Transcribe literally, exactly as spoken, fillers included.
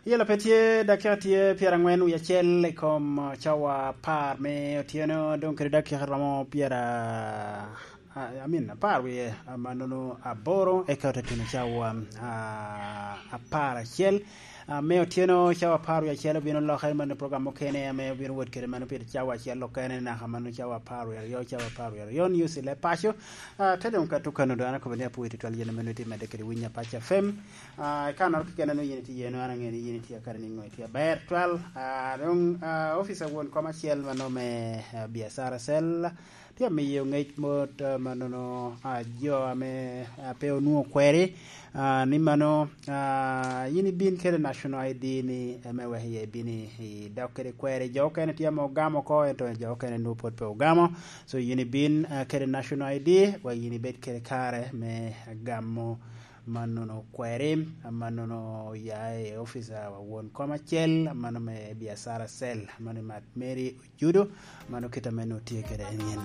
Yela pe tye, dakika tye pyerangwen wie acel i kom, uh, cawa apar me otyeno, dong kede dakika romo pyera, uh, I mean, apar wie, uh, mannono aboro, eka ote tuno cawa, uh, apar acel. Uh, me otyeno cawa apar wie acel obino lokke, mano program mukene ame obino wot kede mano pi cawa acel okene, naka mano cawa apar wie aryo, cawa apar wie aryo, news i leb paco. Uh, te dong ka tukano dong an akobo ni apwoyo tutwal yen ame nongo itye medde kede Winyo Apac F M. Ah, i kannoro keken a nongo yin itye iye, nongo an aŋeo ni yin itye akare niŋo, itye aber twal. Ah, dong, ah, opica won kom acel mano me, ah, biacara cell tye amiyo ŋec mot, ah, mannono, ah, jo ame, ah, pe onwoŋo kweri, ah, ni mano, ah, yin ibin kede National I D ni, ame wek iye ibin i, i dok kede kweri. Jo okene tye ame ogamo oko, ento jo okene nwoŋo pwod pe ogamo. So, yin ibin, ah, kede National I D, wek yin ibed kede kare me gamo mannono kweri, mannono oya i opica wa won kom acel, mano me biacara cell, mano i Mat Mary Ojudo, mano kit ame nwoŋo tye kede en yen.